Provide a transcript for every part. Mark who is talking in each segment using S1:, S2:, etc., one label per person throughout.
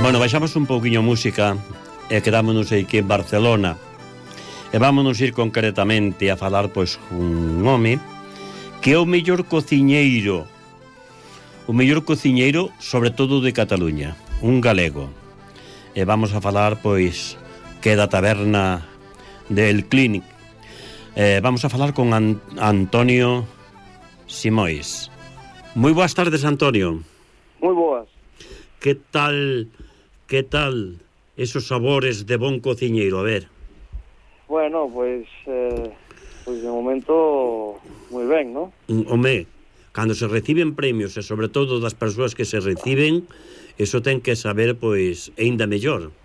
S1: Bueno, baixamos un pouquiño música e quedámonos aquí en Barcelona e vámonos ir concretamente a falar pois un home que é o mellor cociñeiro sobre todo de Cataluña, un galego, e vamos a falar pois que é da taberna del Clínic. Vamos a falar con Antonio Simóis. Moi boas tardes, Antonio.
S2: Moi boas.
S1: Que tal esos sabores de bon cociñeiro? A ver.
S2: Bueno, pois de momento moi ben, ¿no?
S1: Home, cando se reciben premios e sobre todo das persoas que se reciben, eso ten que saber pois aínda mellor,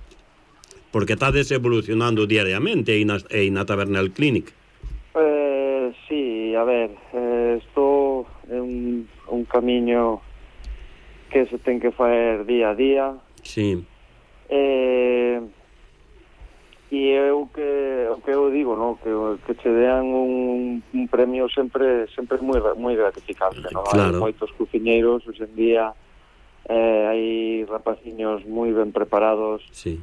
S1: porque estades evolucionando diariamente aí na taberna del Clínic.
S2: Sí, a ver, isto é un camiño que se ten que faer día a día.
S1: Sí.
S2: E o que eu digo, no, que che dean un premio sempre moi gratificante, no?
S1: Claro.
S2: Hai moitos cociñeiros hoxe en día, hai rapaciños moi ben preparados,
S1: Sí.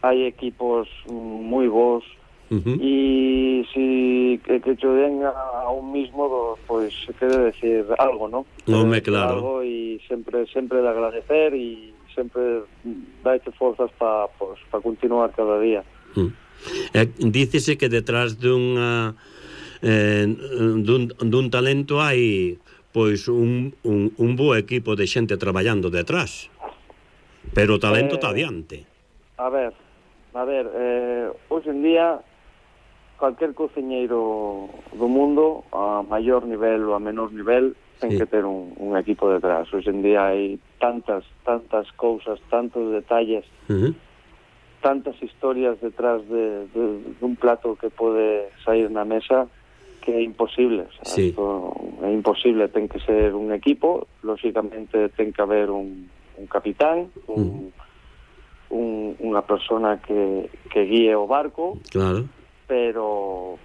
S2: Hai equipos moi bons. E si que che den a un mismo, pois se quere decir algo, ¿no?
S1: Home, claro.
S2: Algo, e sempre de agradecer e sempre daite forzas para continuar cada día.
S1: Dícese que detrás dun talento hai pois un bo equipo de xente traballando detrás, pero o talento está adiante.
S2: A ver, hoxe en día cualquier cociñeiro do mundo, a maior nivel ou a menor nivel, ten que ter un equipo detrás. Hoxe en día hai tantas cousas, tantos detalles, tantas historias detrás de un plato que pode sair na mesa, que é imposible. O sea,
S1: sí.
S2: Esto é imposible, ten que ser un equipo, lógicamente ten que haber un capitán, unha persona que guíe o barco.
S1: Claro.
S2: Pero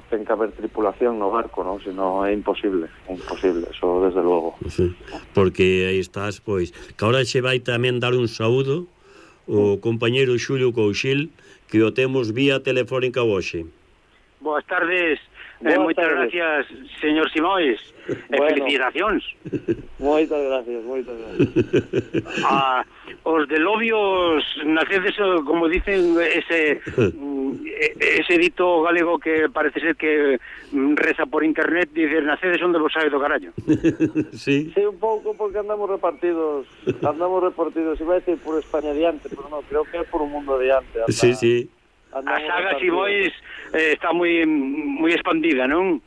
S2: ten que haber tripulación no barco, non? Senón é imposible, eso desde logo.
S1: Sí, porque aí estás, pois, que ahora che vai tamén dar un saúdo o compañeiro Xulio Couchil, que o temos vía telefónica hoxe.
S3: Boas tardes, moitas gracias, señor Simóis, e felicitacións.
S2: Moitas gracias.
S3: Os de Lobios nacedes, como dicen, ese dito galego que parece ser que reza por internet, dice, nacedes onde vos sabe do carallo.
S1: Sí.
S2: Sí, un pouco, porque andamos repartidos, iba a decir por España adiante, pero non, creo que é por un mundo adiante.
S1: Sí.
S3: A saga Simóis está moi expandida, non?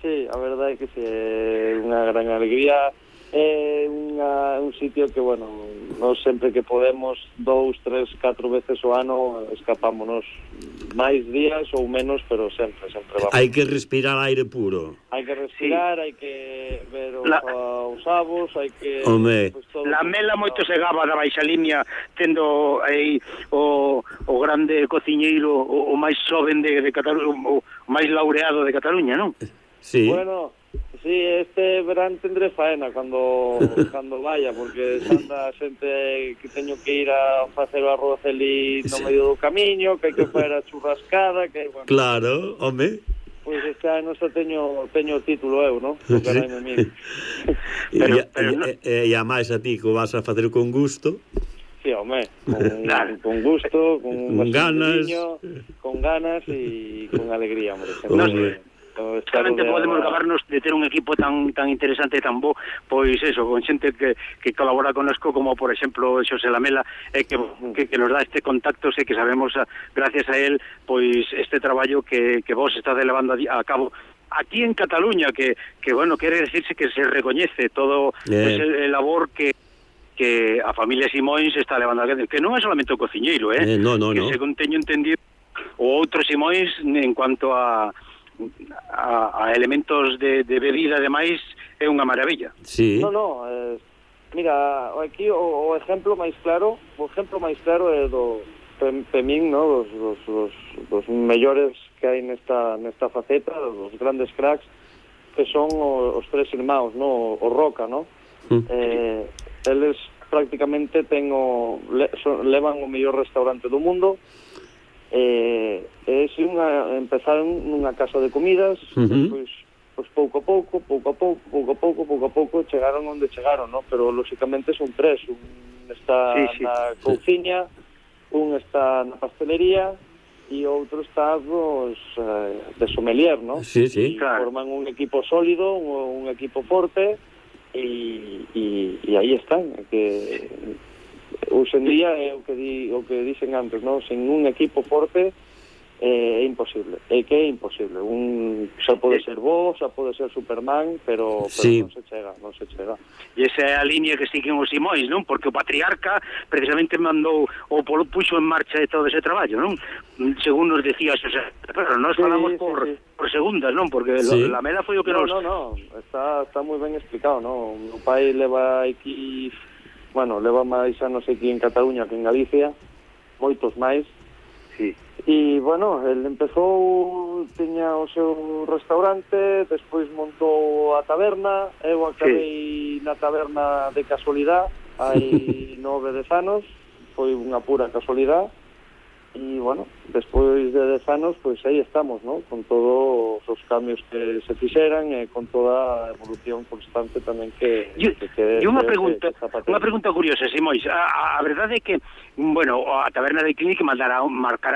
S2: Sí, a verdade é que é unha gran alegría. É un sitio que, bueno, nós sempre que podemos 2, 3, 4 veces ao ano escapámonos máis días ou menos, pero sempre vamos.
S1: Hai que respirar aire puro.
S2: Hai que respirar, hai que ver os avos, hai que...
S1: Home.
S3: La mela moito se gaba da baixa línea, tendo aí o grande cociñeiro, o máis xoven de Cataluña, o máis laureado de Cataluña, non?
S1: Sí.
S2: Bueno, sí, este verán tendré faena cando vaya, porque anda xente que teño que ir a facer o arroz ali no medio do camiño, que hai que facer a churrascada, que bueno.
S1: Claro, home.
S2: Pois este ano xa teño o título eu, non?
S1: Sí. E a máis a ti que o vas a facer con gusto.
S2: Sí, home, con gusto, con ganas e con alegría, hombre.
S3: Realmente podemos gabarnos de ter un equipo tan interesante e tan bo, pois eso, con xente que colabora connosco, como por exemplo Xosé Lamela, que nos dá este contacto, e que sabemos, gracias a él, pois este traballo que vos está levando a cabo aquí en Cataluña, que bueno, quere decirse que se recoñece todo el labor que a familia Simóns está levando a cabo, que non é solamente o cociñeiro,
S1: no.
S3: Que según teño entendido, o outro Simóns en cuanto a elementos de bebida, ademais, é unha maravilla.
S1: Sí.
S2: No, mira, aquí o exemplo máis claro é do Pemín, no, dos mellores que hai nesta faceta, os grandes cracks, que son os tres irmãos, no, o Roca, no? Eles prácticamente levan o mellor restaurante do mundo. Empezaron nunha casa de comidas, despois pouco a pouco chegaron onde chegaron, no? Pero lógicamente son tres, un está na couciña, un está na pastelería e outro está de sommelier, no?
S1: Sí,
S2: claro. Forman un equipo sólido, un equipo forte e aí están, que hoxe en día é o que dicen antes, no? Sen un equipo forte é imposible, xa pode ser vos, xa pode ser Superman, pero non se chega.
S3: E esa é a línea que siguen os Simóns, non? Porque o patriarca precisamente mandou o puxo en marcha de todo ese traballo, non? Según nos decía Xosé, pero nós falamos por segundas, non? Porque la Mela foi o que nos...
S2: No, está moi ben explicado, non? O meu pai leva aquí, leva máis anos aquí en Cataluña que en Galicia, moitos máis.
S3: Sí.
S2: E, el empezou, tiña o seu restaurante, despois montou a taberna, eu acabei na taberna de casualidade, hai 9-10 anos, foi unha pura casualidade, e, despois de 10 anos, pois aí estamos, ¿no? Con todos os cambios que se fixeran e con toda a evolución constante tamén que...
S3: E unha pregunta curiosa, Simóns. A verdade é que, a taberna de Clinic marcará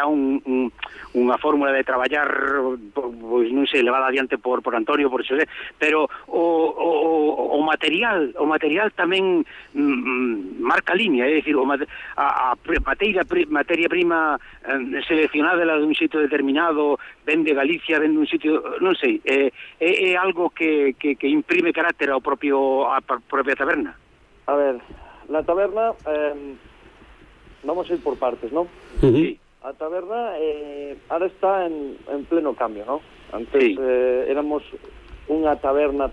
S3: unha fórmula de traballar, pois non sei, levada adiante por Antonio, por Xosé, pero o material tamén marca línea, é dicir, a materia prima seleccionada de un sitio determinado, ven de Galicia, ven dun sitio, non sei, é algo que imprime carácter a propia taberna.
S2: A ver, la taberna, vamos a ir por partes, ¿no?
S3: Sí.
S2: A taberna ahora está en pleno cambio, ¿no? Antes éramos unha taberna.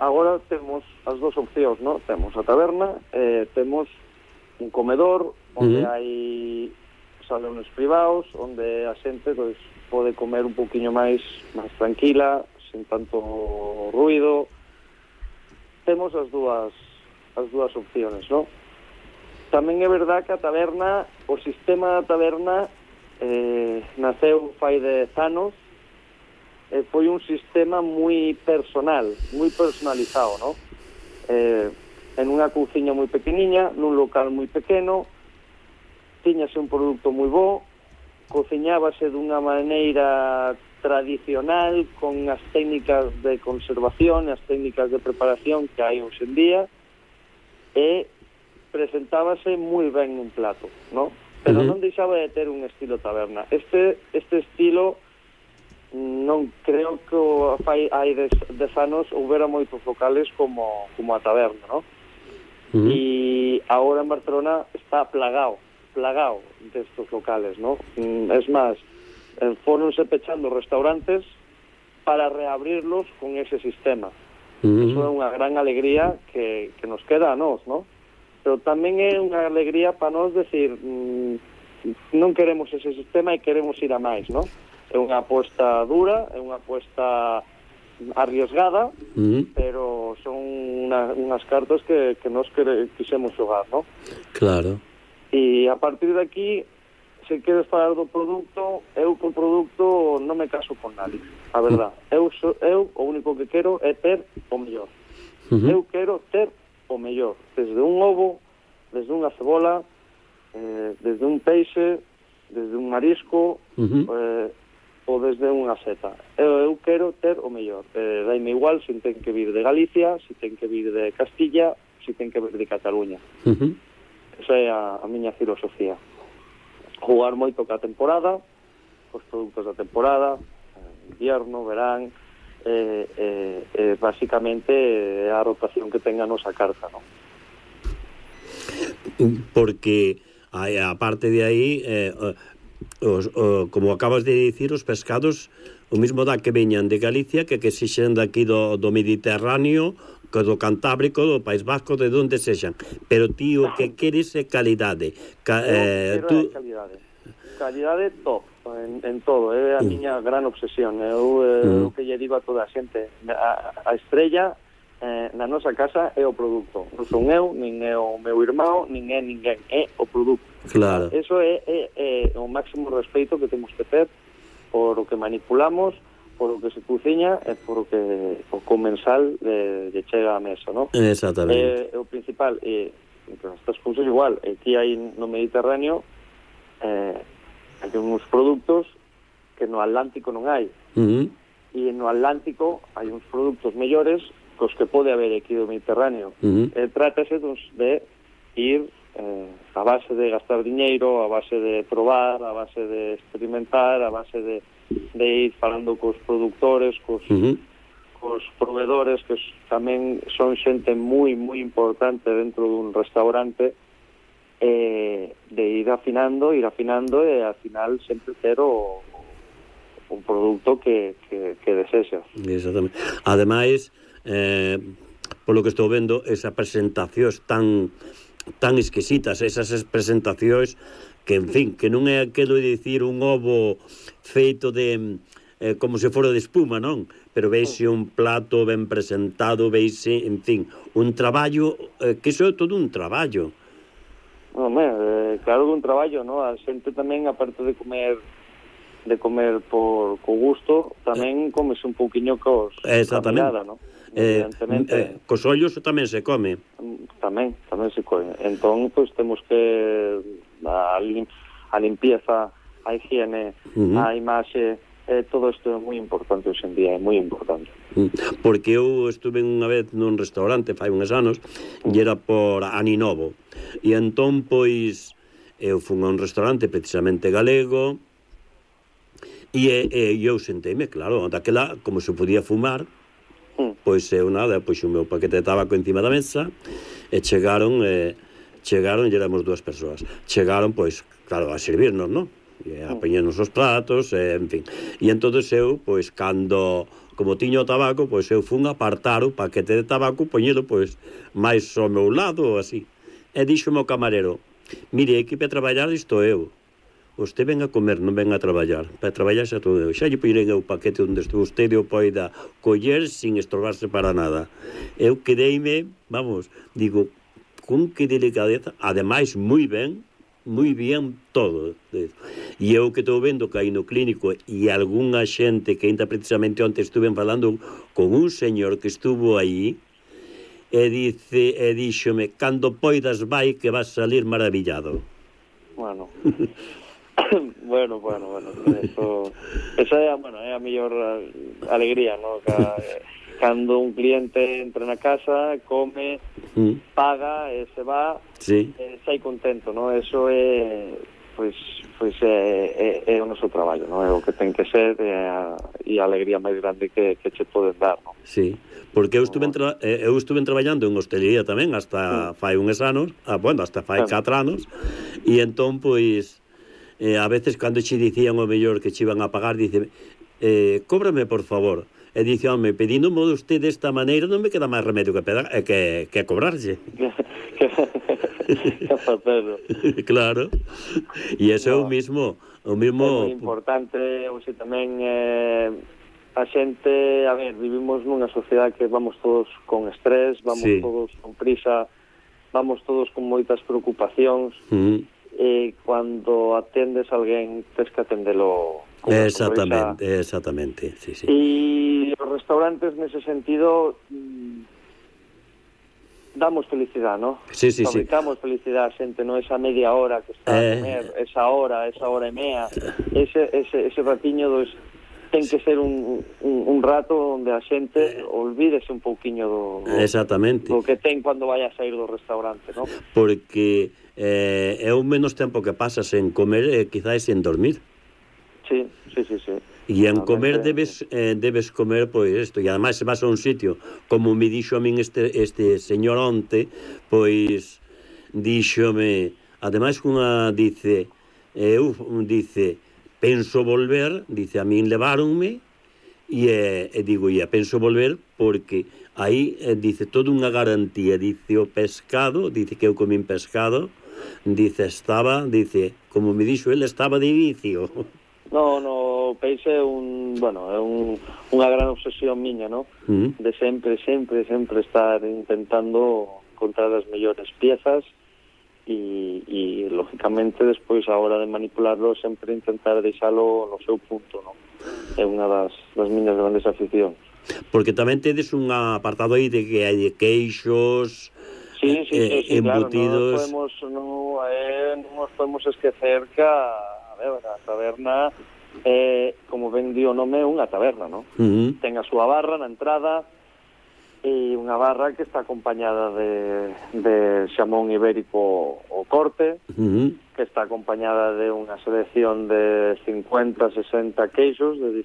S2: Agora temos as dos opcións, ¿no? Temos a taberna, temos un comedor onde hai salones privados, onde a xente pode comer un poquinho máis tranquila, sen tanto ruido. Temos as dúas opcións, ¿no? Tamén é verdad que o sistema da taberna naceu fai 10 anos, foi un sistema moi personal, moi personalizado, ¿no? En unha couciña moi pequeniña, nun local moi pequeno, tiñase un produto moi bo, cociñábase dunha maneira tradicional, con as técnicas de conservación, as técnicas de preparación que hai hoxe en día, e presentábase moi ben un plato, ¿no? Pero non deixaba de ter un estilo taberna. Este estilo non creo que hai 10 anos houbera moitos locales como a taberna, ¿no? E agora en Barcelona está plagado destos locales, ¿no? Es más, fóronse pechando restaurantes para reabrirlos con ese sistema. Eso é unha gran alegría que nos queda a nós, ¿no? Pero tamén é unha alegría para nós decir, non queremos ese sistema e queremos ir a máis, ¿no? É unha aposta dura, é unha aposta arriesgada, pero son unhas cartas que nos quixemos xogar, ¿no?
S1: Claro.
S2: E a partir de aquí, se queres falar do produto, eu co produto non me caso con nadie, a verdad. Eu o único que quero é ter o mellor. Eu quero ter o mellor, desde un ovo, desde unha cebola, desde un peixe, desde un marisco, ou desde unha seta. Eu quero ter o mellor. Daime igual se ten que vir de Galicia, se ten que vir de Castilla, se ten que vir de Cataluña. Esa é a miña filosofía. Jugar moito ca temporada, os produtos da temporada, invierno, verán, basicamente é a rotación que tenga a nosa carta, non?
S1: Porque aparte de aí como acabas de dicir, os pescados o mismo dá que veñan de Galicia que sexan daqui do Mediterráneo, que do Cantábrico, do País Vasco, de onde sexan, pero ti o que queres é calidade.
S2: Calidade top en todo, é a miña gran obsesión. Eu o que lle digo a toda a xente, a estrella na nosa casa é o produto. Non son eu, nin é o meu irmão, nin é ninguén, é o produto.
S1: Claro.
S2: Eso é o máximo respeito que temos que ter por o que manipulamos, por o que se cociña e por o que o comensal lle chega á mesa, non?
S1: Exactamente.
S2: O principal, estas cousas igual, aquí hai no Mediterráneo hai uns produtos que no Atlántico non hai. E no Atlántico hai uns produtos mellores cos que pode haber aquí do Mediterráneo. Trátase de ir a base de gastar diñeiro, a base de probar, a base de experimentar, a base de ir falando cos productores, cos proveedores, que tamén son xente moi importante dentro dun restaurante, de ir afinando e ao final sempre ter un produto que desexas.
S1: Exactamente. Ademais, polo que estou vendo, esas presentacións tan exquisitas, esas presentacións que, en fin, que non é aquilo de dicir un ovo feito de como se fora de espuma, non? Pero veise un plato ben presentado, veise, en fin, un traballo, que iso é todo un traballo.
S2: Claro, un traballo, non? A xente tamén, aparte de comer por gusto, tamén comes un pouquiño cos
S1: mirada,
S2: non?
S1: Cos ollos tamén se come.
S2: Tamén se come. Entón, pois, temos que a limpieza, a higiene, a imaxe, todo isto é moi importante hoxe en día, é moi importante.
S1: Porque eu estuve unha vez nun restaurante fai uns anos e era por Aninovo, e entón, pois, eu fui a un restaurante precisamente galego e eu senteime, claro, daquela, como se podía fumar, pois eu nada, pois o meu paquete de tabaco encima da mesa, e chegaron, e éramos dúas persoas. Chegaron, pois, claro, a servirnos, non? E apañanos os platos, en fin. E entón eu, pois, como tiño o tabaco, pois eu fun a apartar o paquete de tabaco, poñelo, pois, máis ao meu lado, así. E díxome o camarero, mire, aquí para traballar isto eu. Vostede ven a comer, non ven a traballar. Para traballar xa todo eu. Xa lle poirei o paquete onde vostede o poida coller sin estorbarse para nada. Eu quedeime, vamos, digo, con que delicadeza, ademais, moi bien todo. E eu que estou vendo que hai no clínico e algunha xente que ainda precisamente onte estuve falando con un señor que estuvo aí e díxome, cando poidas vai que vas salir maravillado.
S2: Bueno... Bueno, esa é a mellor alegría, ¿no? Cando un cliente entra na casa, come, paga e se va, sai contento, ¿no? Eso é é o noso traballo, ¿no? É o que ten que ser e a alegría máis grande que che poden dar, ¿no?
S1: Sí, porque eu estuve traballando en hostelería tamén hasta fai uns anos, hasta fai 4 anos, e entón, pois, a veces cando che dicían o mellor que che iban a pagar, dice, cóbrame por favor, e dice, home, pedindo modo usted desta maneira non me queda máis remedio que cobrarlle.
S2: Que facelo.
S1: Claro, e iso é o mismo
S2: é moi importante. Oxe, tamén a xente, a ver, vivimos nunha sociedade que vamos todos con estrés, vamos todos con prisa, vamos todos con moitas preocupacións, e cando atendes a alguén tens que atendelo con
S1: exactamente, sí.
S2: E os restaurantes nese sentido damos felicidade, ¿no?
S1: Sí.
S2: Fabricamos felicidade a xente, non esa media hora que está a comer, esa hora e mea, ese ratiño ten que ser un rato onde a xente olvídese un pouquiño
S1: exactamente
S2: do que ten cando vai a sair do restaurante, non?
S1: Porque é o menos tempo que pasas en comer e quizás en dormir.
S2: Sí.
S1: E en comer debes comer pois isto, e ademais se vas a un sitio como me dixo a min este señor onte, pois díxome, ademais cunha dice penso volver, dice, a min leváronme e digo, penso volver porque aí dice toda unha garantía, dice o pescado, dice que eu comín pescado, dice como me dixo ele, estaba de vicio.
S2: No, peixe é unha gran obsesión miña, ¿no? De sempre estar intentando encontrar as mellores piezas e lógicamente despois a hora de manipularlo sempre intentar deixalo no seu punto, ¿no? É unha das miñas grandes aficións.
S1: Porque tamén tedes un apartado aí de que hai queixos, embutidos.
S2: Claro, non nos podemos esquecer que a taberna como ben di o nome, é unha taberna, ¿no? Ten a súa barra na entrada e unha barra que está acompañada de xamón ibérico o corte, que está acompañada de unha selección de 50, 60 queixos de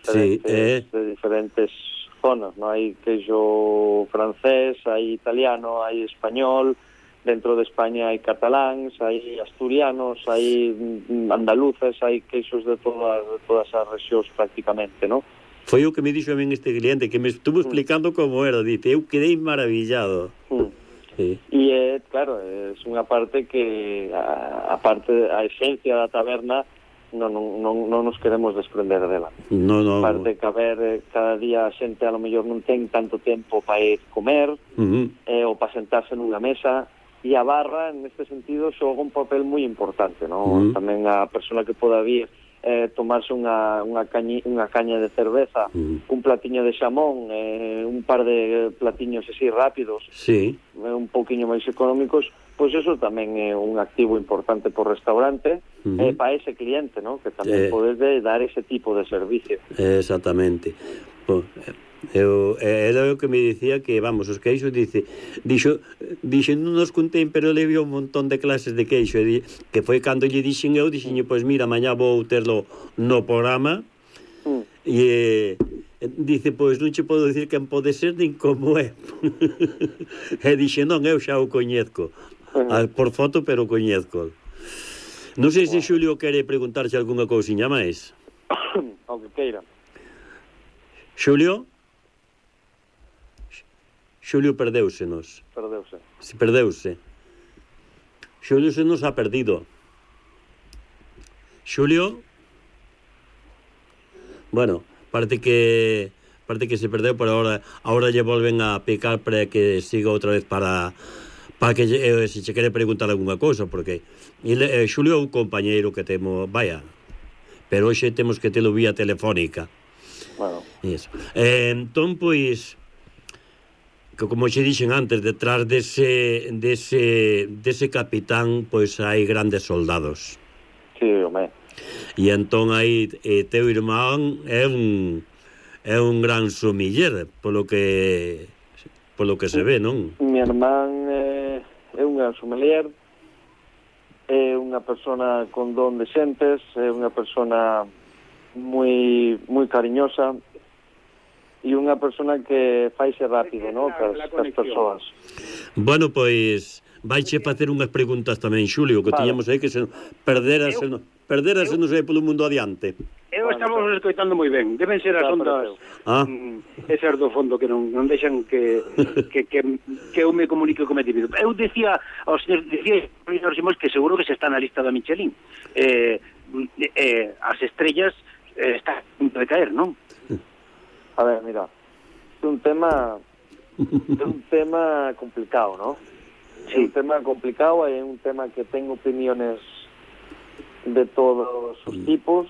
S2: diferentes zonas, ¿no? Hai queixo francés, hai italiano, hai español, dentro de España hai cataláns, hai asturianos, hai andaluces, hai queixos de todas as rexións prácticamente, ¿no?
S1: Foi o que me dixo a min este cliente, que me estuvo explicando como era, dice, eu quedei maravillado.
S2: Sí. E, claro, é unha parte que, a esencia da taberna, non nos queremos desprender dela.
S1: No.
S2: Parte que, cada día a xente a lo mellor non ten tanto tempo para ir comer, ou para sentarse nunha mesa, e a barra, neste sentido, xoga un papel moi importante, ¿no? Tamén a persona que poda vir tomarse unha caña de cerveza, un platiño de xamón, un par de platiños así rápidos, un pouquiño máis económicos, pois eso tamén é un activo importante por restaurante para ese cliente, ¿no? Que tamén podes dar ese tipo de servicio.
S1: Exactamente. Era o que me dicía que, vamos, os queixos, dixo, non nos contén, pero le vio un montón de clases de queixo, que foi cando lle dixen eu, pois mira, mañá vou terlo no programa, e dice, pois non che podo dicir quen pode ser nin como é. E dixe, non, eu xa o coñezco, por foto, pero coñezco. Non sei se Xulio quere preguntarse algunha cousiña máis.
S2: O que queira.
S1: Xulio perdeusenos. Perdeuse. Xulio se nos ha perdido. Xulio? Bueno, parece que se perdeu, pero ahora lle volven a picar para que siga outra vez para que se che quere preguntar algunha cousa, porque Xulio é un compañeiro que temos, pero hoxe temos que telo vía telefónica.
S2: Bueno.
S1: Eso. Entón, pois, que como xe dixen antes, detrás dese capitán, pois hai grandes soldados.
S2: Sí, home.
S1: E entón aí teu irmán é un gran sumiller, polo que se ve, non?
S2: Mi irmán é un gran sommelier, é unha persona con don de xentes, é unha persona moi cariñosa e unha persona que faise rápido, ¿no? Cas persoas.
S1: Bueno, pois vaiche facer unhas preguntas tamén, Xulio, que tiñamos aí que se perderase non sei polo mundo adiante.
S3: Eu estamos escoitando moi ben. Deben ser as ondas esas do fondo que non deixan que eu me comunique como individuo. Eu decía ao señor Simóns que seguro que se está na lista da Michelin. As estrellas está a punto de caer, non?
S2: A ver, mira, é un tema complicado, ¿no? Sí. É un tema complicado, é un tema que ten opiniones de todos os tipos,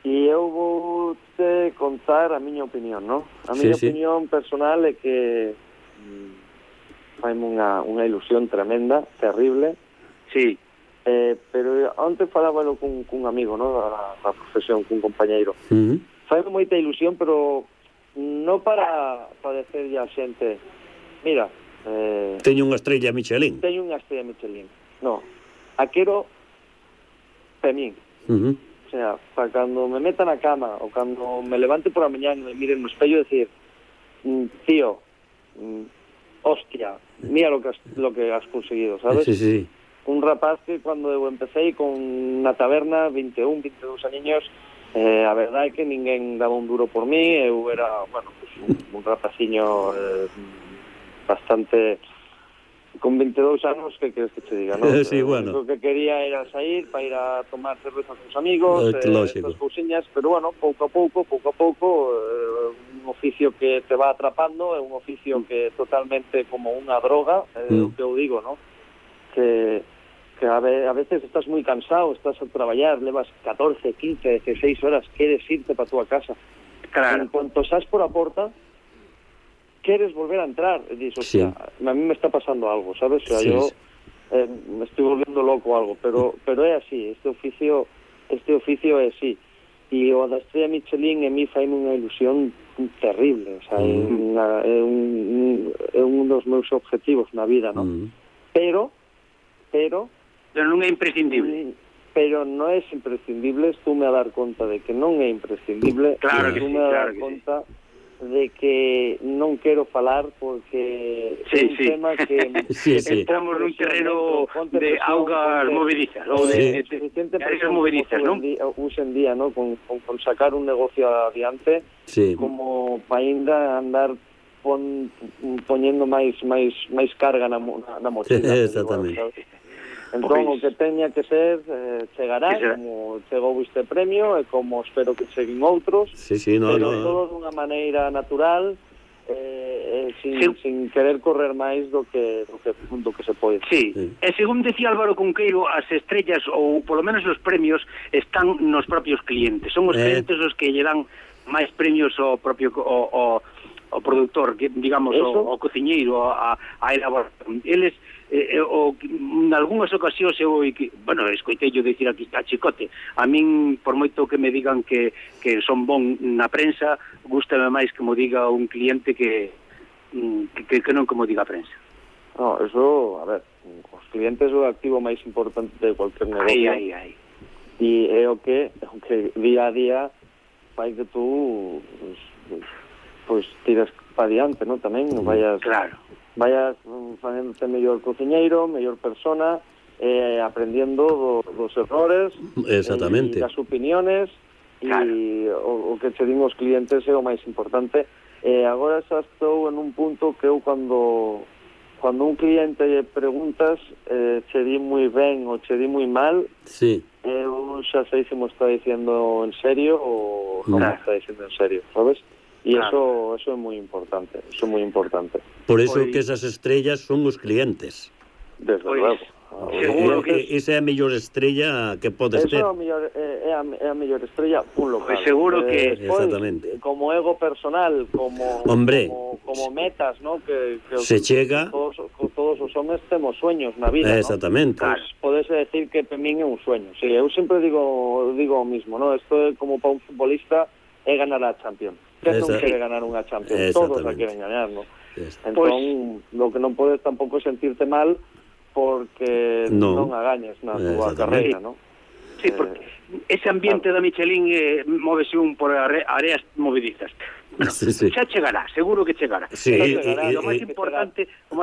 S2: e eu vou te contar a miña opinión, ¿no? A miña opinión personal é que faime unha ilusión tremenda, terrible.
S3: Sí.
S2: Pero onte falábalo cun amigo, ¿no? Da profesión, cun compañeiro. fai moita ilusión, pero non para decirle a xente, mira,
S1: teño unha estrella Michelin.
S2: Teño unha estrella Michelin. No, a quero para min. O sea, para cando me meta na cama ou cando me levante por a mañá e me mire no espello, decir, tío, hostia, mira lo que has conseguido, ¿sabes?
S1: Sí.
S2: Un rapaz que cando eu empecé con na taberna, 21, 22 años, a verdade é que ninguén daba un duro por mí, eu era, bueno, pues, un rapaciño bastante... Con 22 anos, que queres que te diga, non?
S1: Sí, bueno.
S2: O que quería era sair para ir a tomar cerveza con os amigos, estas cousiñas, pero bueno, pouco a pouco, un oficio que te va atrapando, é un oficio que é totalmente como unha droga, o que eu digo, non? Que a veces estás moi cansado, estás a traballar, levas 14, 15, 16 horas, queres irte para a tua casa.
S3: Claro.
S2: En cuanto sas por a porta, queres volver a entrar, e dices, hostia, a mí me está pasando algo, ¿sabes? O sea, yo me estoy volviendo loco o algo, pero é así, este oficio é así. E o da estrella Michelin en mí faime unha ilusión terrible, o sea, é un dos meus objetivos na vida, ¿no? Pero
S3: non é imprescindible.
S2: Pero non é imprescindible, estume a dar conta de que non é imprescindible,
S3: claro que
S2: estume a dar conta de que non quero falar porque é un tema que
S3: entramos nun terreno de augas movedizas ou de areas movedizas, non?
S2: Hoxe en día, ¿no? Con sacar un negocio adiante, como para ainda andar poñendo máis carga na mochila.
S1: Exactamente.
S2: Entón, o que teña que ser chegará, como chegou este premio e como espero que cheguen outros, pero todo dunha maneira natural, sin querer correr máis do que se pode.
S3: Sí, e según decía Álvaro Cunqueiro, as estrellas, ou polo menos os premios, están nos propios clientes. Son os clientes os que lle dan máis premios ao propio o produtor, digamos, o cociñeiro, a elaboración. Eles en algunhas ocasións eu, bueno, escoitei yo dicir aquí a Chicote, a min, por moito que me digan que son bon na prensa, gústame máis que mo diga un cliente que non como diga a prensa.
S2: No, eso, a ver, os clientes é o activo máis importante de cualquier negocio. E é o que día a día fai que tú pues tiras para diante, ¿no? Tamén vayas facéndote mellor cociñeiro, mellor persona, aprendendo dos errores,
S1: exactamente,
S2: das opiniones, e o que che din os clientes é o máis importante. Agora xa estou en un punto que eu cando un cliente lle preguntas che di moi ben ou che di moi mal, eu xa sei se mo está dicindo en serio ou non me está dicindo en serio, sabes? E eso é moi importante,
S1: Por eso que esas estrellas son os clientes.
S2: Desde luego.
S3: Seguro que
S1: esa é a mellor estrella que podes ter.
S2: É a mellor estrella un local.
S3: Seguro que
S1: exactamente.
S2: Como ego personal, como metas, ¿no? Que
S1: se chega.
S2: Todos os homes temos sueños na vida,
S1: exactamente.
S2: ¿no? Pues podese decir que para min é un sueño. Sí, eu sempre digo o mismo, ¿no? Isto é como para un futbolista é ganar a Champions. Que non quere ganar unha Champions, todos a queren ganar, ¿no? Entón, lo que non podes tampouco sentirte mal porque non a gañes na túa carreira, ¿no?
S3: Sí, porque ese ambiente da Michelin móvese un por áreas movedizas. Xa chegará, seguro que chegará. O máis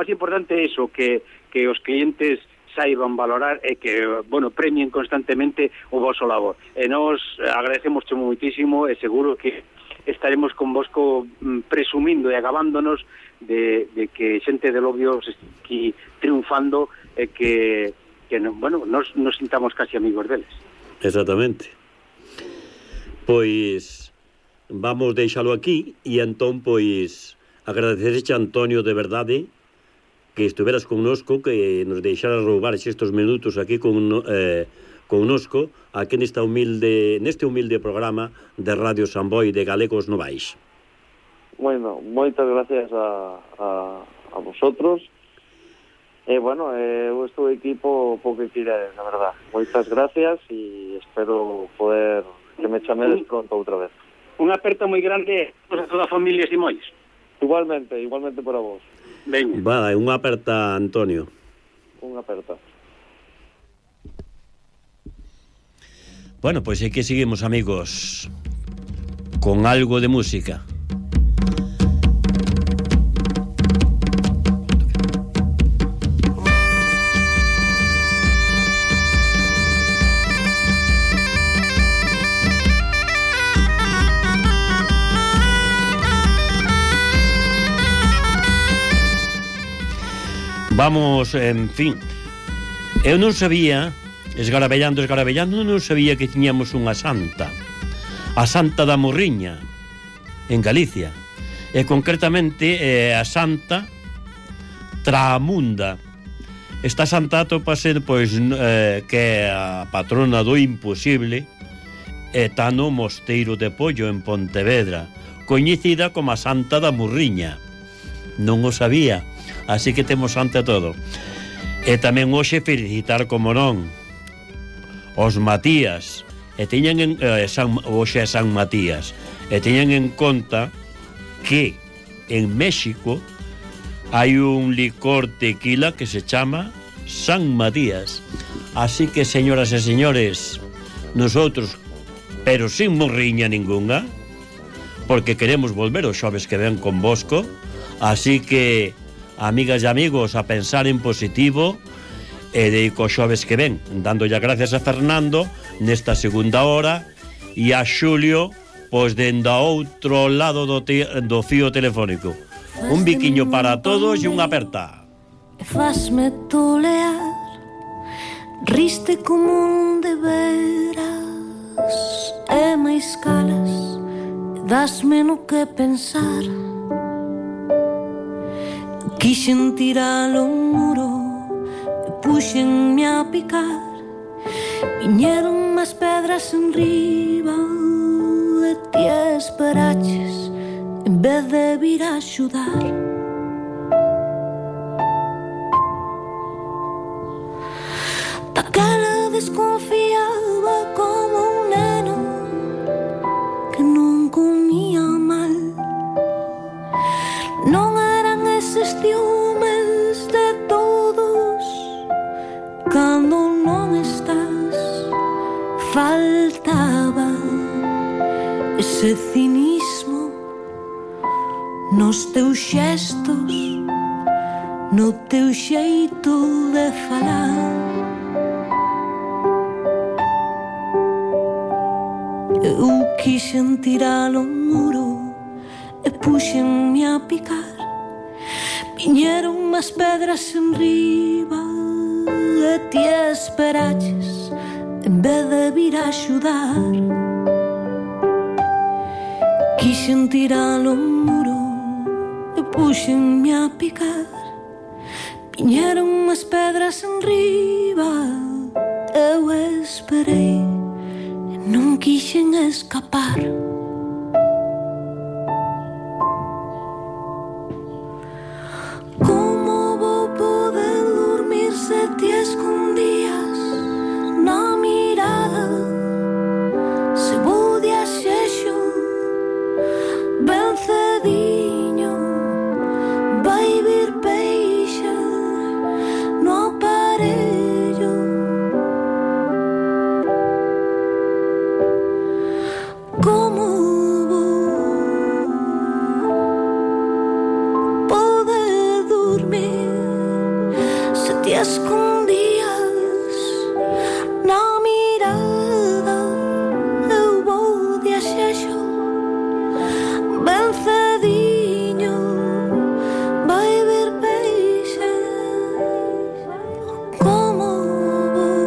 S3: importante é iso, que os clientes saiban valorar e que, bueno, premien constantemente o vosso labor. E nós agradecemos moitísimo e seguro que estaremos convosco presumindo e agabándonos de que xente de Lobios aquí triunfando e que bueno, nos sintamos casi amigos deles.
S1: Exactamente. Pois vamos deixalo aquí e entón pois agradecerche a Antonio de verdade que estuveras connosco, que nos deixaras roubar estes minutos aquí connosco aquí neste humilde programa de Radio Samboy de Galegos Novais.
S2: Bueno, moitas gracias a vosotros. Bueno, eu estou equipo po que quiredes, na verdad. Moitas gracias e espero poder que me chamedes pronto outra vez.
S3: unha aperta moi grande a toda a familia Simois.
S2: Igualmente para vos.
S3: Veña.
S1: Vale, unha aperta, Antonio.
S2: Unha aperta.
S1: Bueno, pois aquí seguimos, amigos, con algo de música. Vamos, en fin, eu non sabía, esgarabellando, non sabía que tiñamos unha santa, a Santa da Morriña, en Galicia, e concretamente a Santa Traamunda. Esta santa atopase, pois, que é a patrona do imposible, e está no Mosteiro de Pollo, en Pontevedra, coñecida como a Santa da Morriña. Non o sabía. Así que temos ante todo. E tamén hoxe felicitar, como non, os Matías. E teñan hoxe é San Matías. E teñan en conta que en México hai un licor tequila que se chama San Matías. Así que, señoras e señores, nosotros, pero sin morriña ninguna, porque queremos volver os xoves que ven con Bosco, así que, amigas e amigos, a pensar en positivo e de cos xoves que ven, dándolle gracias a Fernando nesta segunda hora e a Xulio, pois dende a outro lado do fío telefónico. Un biquiño para todos e unha aperta.
S4: Fasme tolear, riste como un de veras, e máis calas, dasme no que pensar. Quixen tirar o muro e puxenme a picar, viñeron máis pedras en riba e ti esperaches en vez de vir a axudar. Daquela desconfiaba como un neno que non comía mal. Non eran eses ciúmes de todos cando non estás. Faltaba ese cinismo nos teus xestos, no teu xeito de falar. Eu quixen tirar o muro e puxenme a picar, viñeron máis pedras en riba e ti esperaches en vez de vir a axudar. Quixen tirar o muro e puxenme a picar, viñeron máis pedras en riba, eu esperei e non quixen escapar. Como vou poder dormir se te escondías na mirada? Se vou de axexo ben cediño, vai vir peixe no aparello. Como vou poder dormir se te escondías na mirada? Eu vou de axexo ben cediño, vai vir peixe. Como vou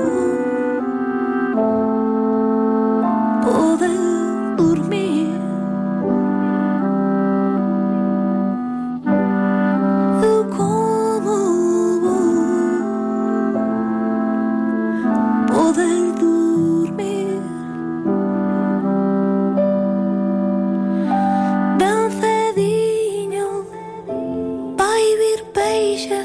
S4: poder dormir? Eu como vou poder dormir? Ben cediño, vai vir peixe.